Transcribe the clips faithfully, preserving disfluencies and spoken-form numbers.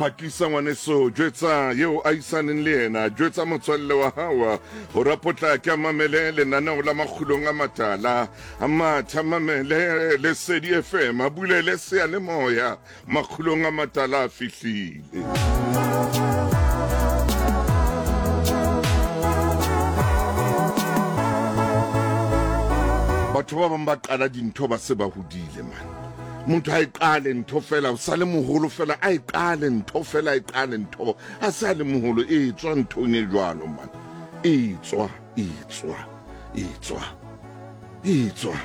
Phakisa ngwaneso, jwetsa yeo a isaneng le yena, jwetsa motswalle wa hao gore a potlake a mamele lenaneo la Makgulong a Matala, a mathe a mamele Lesedi F M, a bulele seyalemoya. Makgulong a Matala a fihlile. Batho ba bang ba qala dintho ba se ba hodile man. Motho a e qale ntho fela, o sa le moholo fela, a e qale ntho fela, a e qale ntho, a sa le moholo, e tswa nthong e jwalo man. E tswa, e tswa, e tswa, e tswa.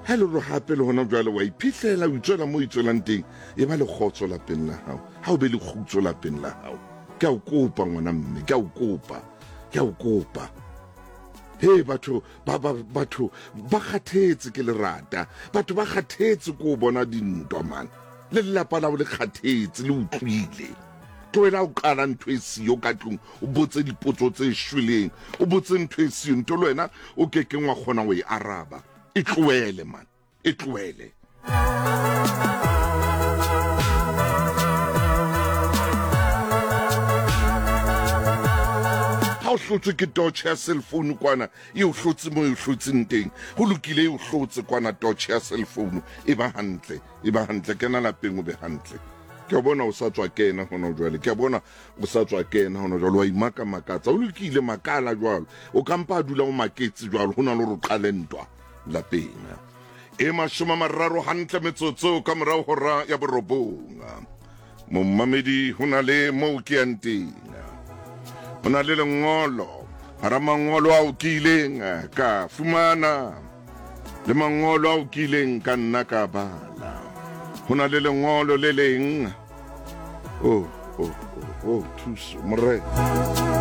Ha le re hape le hona jwale wa iphihlela, o itswela mo itswelang teng, e ba le kgotso lapeng la hao. Ha o be le kgutso lapeng la hao. Ke a o kopa ngwana mme, ke a o kopa, ke a o kopa. Hey batho ba ba batho ba kgathetse ke lerata, batho ba kgathetse ko bona dintwa man. Le lelapa la le kgathetse le utlwile. Tlohela o qala ntho e siyo ka tlung, o botse dipotso tse shweleng, o botse ntho e siyo, ntho le wena o kekeng wa kgona ho e araba. E tlohele man, e tlohele. Ha o hlotswe ke torch ya cell phone kwana, e o hlotse mo e o hlotseng teng. Ho lokile, e o hlotse kwana torch ya cell phone, e ba hantle, e ba hantle, kena lapeng o be hantle. Ke a bona o sa tswa kena hona jwale, ke a bona o sa tswa kena hona jwale, wa imaka makatsa, o lokile makala jwalo. O ka mpa a dula o maketse jwalo, ho na le hore o qale ntwa lapeng. E mashome a mararo hantle metsotso ka morao hora ya borobong. Momamedi, ho na le moo ke yang teng. Ho na le lengolo, hara mangolo ao ke ileng ka fumana, le mangolo ao ke ileng ka nna ka bala. Ho na le lengolo le leng. Oh, oh, oh, oh, thuso, Morena.